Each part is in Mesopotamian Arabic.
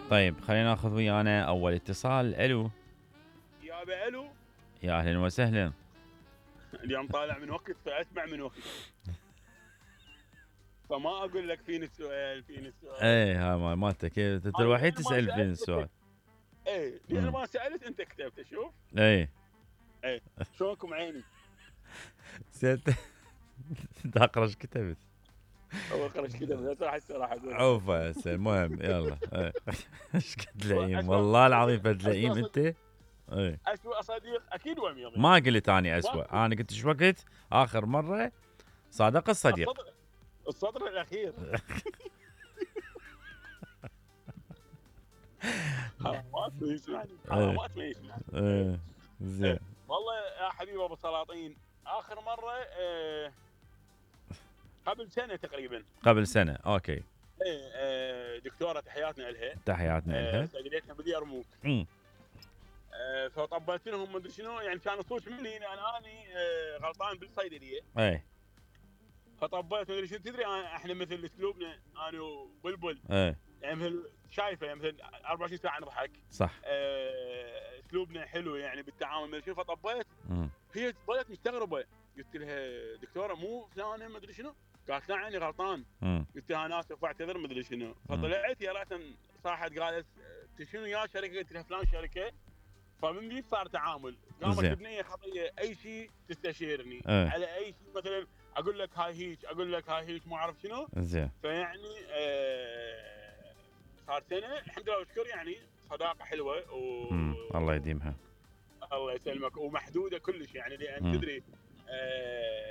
طيب خلينا ناخذ ويانا اول اتصال. الو. يابا الو. يا اهلا وسهلا. اليوم طالع من وقت فاسمع من وقت، فما اقول لك فيني السؤال ايه ها مالتك، انت الوحيد تسال فين السؤال. ايه لان ما سالت انت كتبت. شوف ايه شلونكم عيني. سالت انت اقرا ايش كتبت؟ هو خرج كذا بس راح اقول عوفه هسه المهم يلا. ايش قد لئيم والله العظيم، فد لئيم انت. ايه اسوء صديق اكيد وميض. ما قلت اني اسوء، انا قلت ايش وقت اخر مره صادق الصديق. السطر الاخير. حرامات ما يسمعني، حرامات ما يسمعني. زين والله يا حبيبي ابو سلاطين، اخر مره قبل سنه تقريبا. قبل سنه اوكي. دكتوره تحياتنا لها. تحياتنا لها. سجلتنا باليرموك. فطبلت لهم ما ادري شنو، يعني كان الصوت مني اني غلطان بالصيدليه. اي فطبلت ما ادري شنو. تدري احنا مثل اسلوبنا انا وبلبل. يعني مثل شايفه، يعني مثل 24 ساعه نضحك. صح. اسلوبنا حلو يعني بالتعامل ما شنو. فطبلت هي ظلت مستغربه. قلت لها دكتوره مو فلانه ما ادري شنو. قالت لا عيني غلطان. قلت لها انا اسف واعتذر ما ادري شنو. فطلعت يا ريت صاحت قالت شنو يا شركه. قلت لها فلان شركه. فمن ذي صار تعامل. قامت البنيه خطيه اي شيء تستشيرني على اي شيء. مثلا اقول لك هاي هيك، اقول لك هاي هيك، ما اعرف شنو. زين. فيعني صار سنه الحمد لله والشكر، يعني صداقه حلوه الله يديمها. الله يسلمك. ومحدوده كلش يعني، لان تدري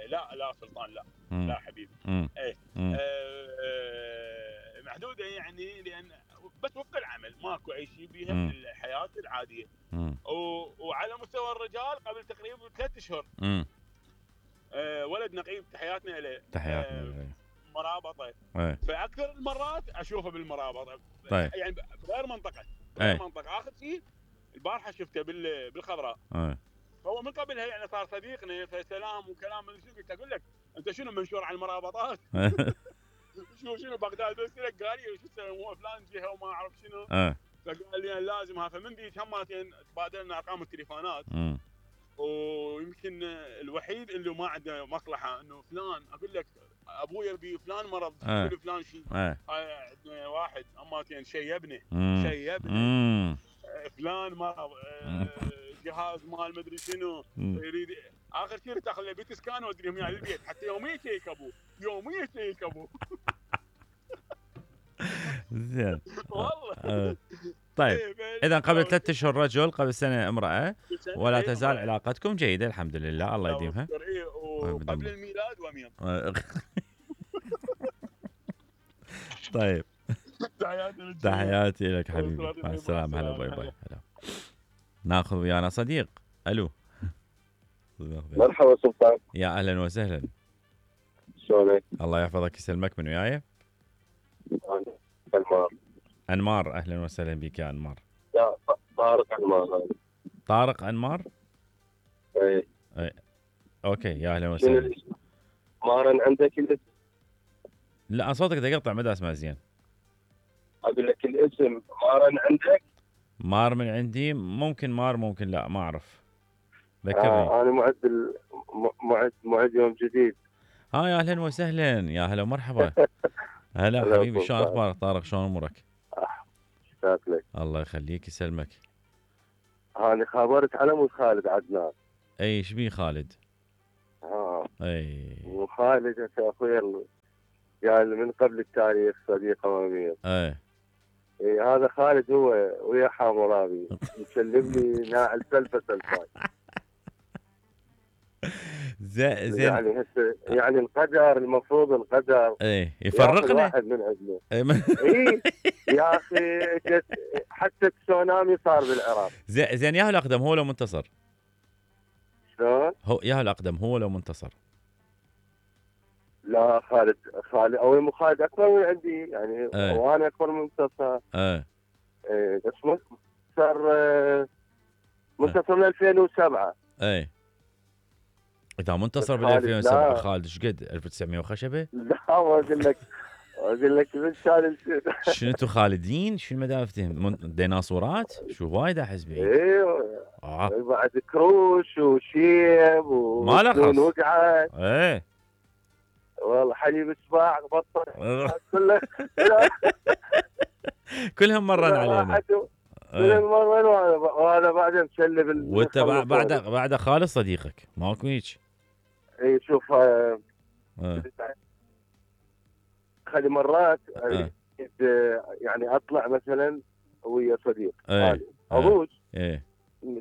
لا سلطان لا. لا حبيبي. محدوده يعني، لان بس وفق العمل ماكو اي شيء بيها من الحياه العاديه. وعلى مستوى الرجال قبل تقريبا 3 اشهر ولد نقيب تحياتنا له. تحياتنا له. مرابطه. فاكثر المرات اشوفه بالمرابطه. طيب. يعني بغير منطقه. منطقه. اخر شيء البارحه شفته بالخضراء. هو من قبلها يعني صار صديقنا، فسلام وكلام. من شنو قلت اقول لك انت شنو منشور على المرابطات؟ شنو بغداد بس لك قال لي شو هو فلان جهه وما اعرف شنو. فقال لي لازم ها. فمن ذيك هماتين تبادلنا ارقام التليفونات. ويمكن الوحيد اللي ما عنده مصلحه انه فلان اقول لك ابويا بي فلان مرض فلان شيء. عندنا واحد هماتين شيبني فلان مرض جهاز مال مدري شنو يريد. اخر شيء تاخذ له بيت سكان وادريهم يعني البيت حتى يوميا شيك ابوه. زين والله. طيب اذا قبل 3 اشهر رجل، قبل سنه امراه، ولا تزال علاقتكم جيده الحمد لله. الله يديمها. وقبل الميلاد وميض. طيب تحياتي لك حبيبي، مع السلامه. هلا باي باي. هلا. ناخذ ويانا صديق. الو. مرحبا سلطان. يا اهلا وسهلا. شلونك؟ الله يحفظك يسلمك. من وياي؟ انمار. انمار اهلا وسهلا بك يا انمار. يا طارق انمار. طارق انمار. اي اوكي يا اهلا وسهلا. مارن عندك الاسم؟ لا صوتك يقطع ما اسمع زين. اقول لك الاسم مارن عندك؟ مار من عندي ممكن، مار ممكن لا ما اعرف. ذكرني. انا معد يوم جديد. يا اهلا وسهلا. يا هلا ومرحبا. هلا حبيبي، شلون اخبارك طارق؟ شلون امورك؟ اشتقت لك. الله يخليك يسلمك. انا خابرت على مود خالد عدنان. اي ايش بيه خالد؟ اي وخالد يا اخوي يعني من قبل التاريخ صديق امامي. اي هذا خالد هو ويا حامورابي يسلم لي ناعل سلفاي. زين يعني هسه يعني القدر المفروض القدر يفرقنا واحد من عندنا. يا اخي حتى التسونامي صار بالعراق. زين ياهو الاقدم هو لو منتصر؟ شلون؟ هو ياهو الاقدم هو لو منتصر؟ لا خالد او مو خالد اكبر من عندي يعني. وانا اكبر من منتصر. بس منتصر من 2007. اذا منتصر بال 2007 خالد ايش قد 1900 وخشبه؟ لا ما اقول لك اقول لك من كان شنو انتم خالدين؟ شنو ما افتهم ديناصورات؟ شو وايد احس بعيد. ايوه بعد كروش وشيب ما لخص وقعد. ايه والله حليب سباع بطل كله كلهم مرن علينا. كلهم مرن وانا بعدين مسلب. وانت بعد خالد صديقك ماكو هيك. اي شوف خلي مرات يعني اطلع مثلا ويا صديق اروج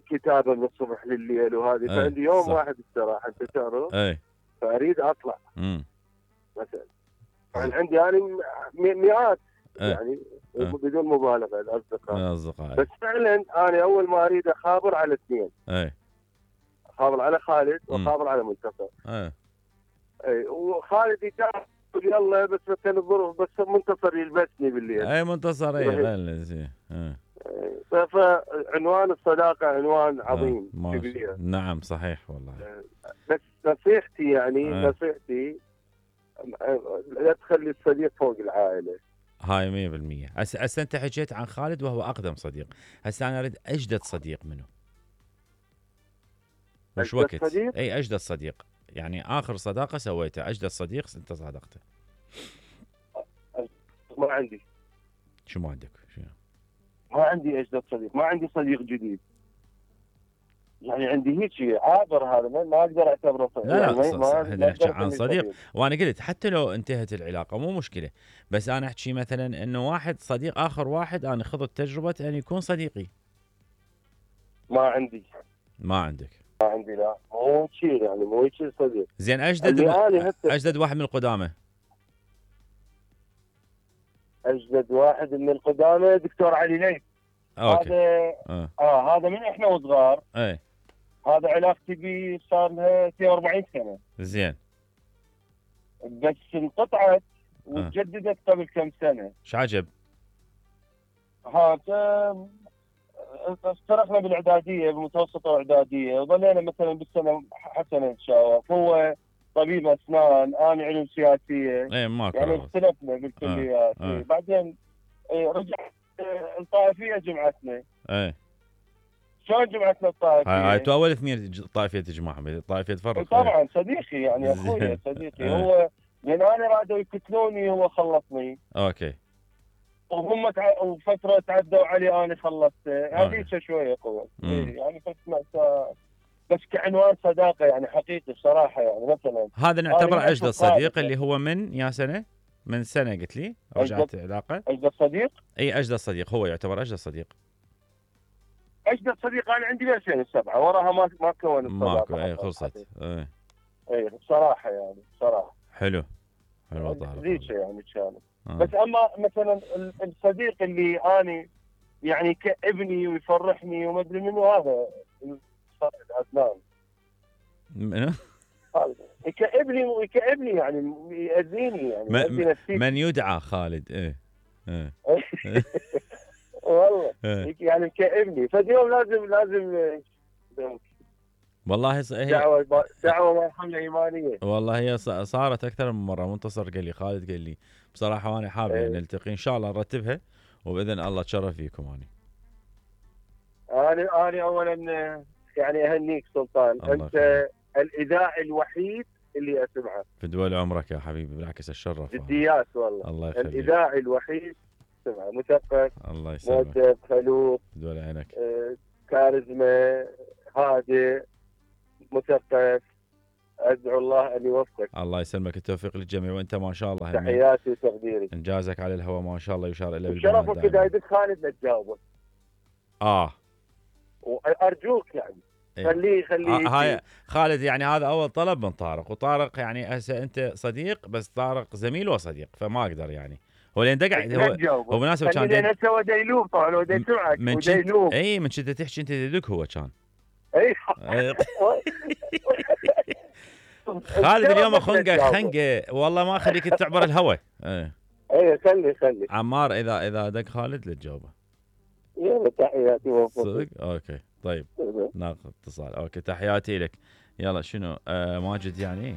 كتابه من الصبح لليل وهذه فعندي يوم واحد استراحه انت تعرف فاريد اطلع مثلا عندي يعني مئات يعني بدون مبالغه الاصدقاء بس فعلا انا اول ما اريد اخابر على اثنين اخابر على خالد واخابر على منتصر اي وخالد يتعب يلا بس كان الظروف بس منتصر يلبسني بالليل. اي منتصر اي فعنوان الصداقه عنوان عظيم كبير. نعم صحيح والله. بس نصيحتي يعني نصيحتي لا تخلي الصديق فوق العائله. هاي 100%. هسه انت حكيت عن خالد وهو اقدم صديق، هسه انا اريد اجدد صديق منه. وش وقت؟ صديق؟ اي اجدد صديق، يعني اخر صداقه سويتها اجدد صديق انت صادقته. ما عندي. شو ما عندك؟ شنو؟ ما عندي اجدد صديق، ما عندي صديق جديد. يعني عندي هيك عابر هذا ما اقدر اعتبره صديق. لا احنا نحكي عن صديق وانا قلت حتى لو انتهت العلاقه مو مشكله، بس انا احكي مثلا انه واحد صديق اخر واحد انا خذت تجربه ان يكون صديقي. ما عندي. ما عندك؟ ما عندي لا مو شيء يعني مو شيء صديق. زين اجدد واحد من القدامى. اجدد واحد من القدامى دكتور علي ليث. هذا هذا من احنا وصغار. اي هذا علاقتي به صار لها 42 سنه. زين. بس انقطعت وتجددت قبل كم سنه. ايش عجب؟ هذا اشتركنا بالاعداديه بالمتوسطه واعداديه وظلينا مثلا بالسنه حسنه نتشاور. هو طبيب اسنان انا علوم سياسيه. اي ماكو يعني اختلفنا بالكليات. بعدين رجع الطائفيه جمعتنا. اي شلون جمعتنا الطائفيه؟ هاي تو اول اثنين طائفيه تجمعهم، الطائفيه تفرق. طبعا صديقي يعني اخوي صديقي. هو لان انا رادوا يقتلوني هو خلصني. اوكي. وهم وفتره تعدوا علي انا خلصته. هذيك شويه قوه. يعني بس كعنوان صداقه يعني حقيقي بصراحه يعني مثلا هذا نعتبر اجدد صديق اللي هو من يا سنه؟ من سنه قلت لي رجعت علاقه. اجدد صديق؟ اي اجدد صديق هو يعتبر اجدد صديق. اجدد صديق انا عندي ب 2007 وراها ما كون الصداقه. ماكو اي خلصت. اي بصراحه يعني بصراحه. حلو والله. ذيك يعني كانت. بس اما مثلا الصديق اللي اني يعني كابني ويفرحني وما ادري منه هذا عدنان. منو؟ كابني يعني يأذيني يعني من يدعى خالد. ايه والله يعني كابني فاليوم لازم والله دعوه مرحله ايمانيه. والله هي صارت اكثر من مره. منتصر قال لي خالد قال لي بصراحه وانا حابب نلتقي ان شاء الله نرتبها وباذن الله اتشرف فيكم. انا اولا يعني اهنيك سلطان. انت الاذاعي الوحيد اللي اسمعه في دول عمرك يا حبيبي. بالعكس الشرف جديات والله. الله يخليك. الاذاعي الوحيد اسمعه مثقف الله يسلمك مؤدب خلوق دول عينك كاريزما هادئ مثقف. ادعو الله ان يوفقك. الله يسلمك. التوفيق للجميع وانت ما شاء الله تحياتي وتقديري. انجازك على الهواء ما شاء الله يشار الى بالبنات. شرفك اذا يدك خالد لا تجاوبه. وارجوك يعني خليه هاي خالد يعني هذا اول طلب من طارق. وطارق يعني هسه انت صديق بس طارق زميل وصديق فما اقدر يعني هو لين دقع هو مناسب كان لين سوى ديلوب طبعا هو يسمعك وديلوب. اي من كنت تحكي انت يدك هو كان. اي خالد اليوم خنقه والله ما اخليك تعبر الهوى. اي خلي عمار اذا دق خالد لا تجاوبه. يلا تحياتي صدق. اوكي طيب ناخذ اتصال. اوكي تحياتي لك. يلا شنو ماجد يعني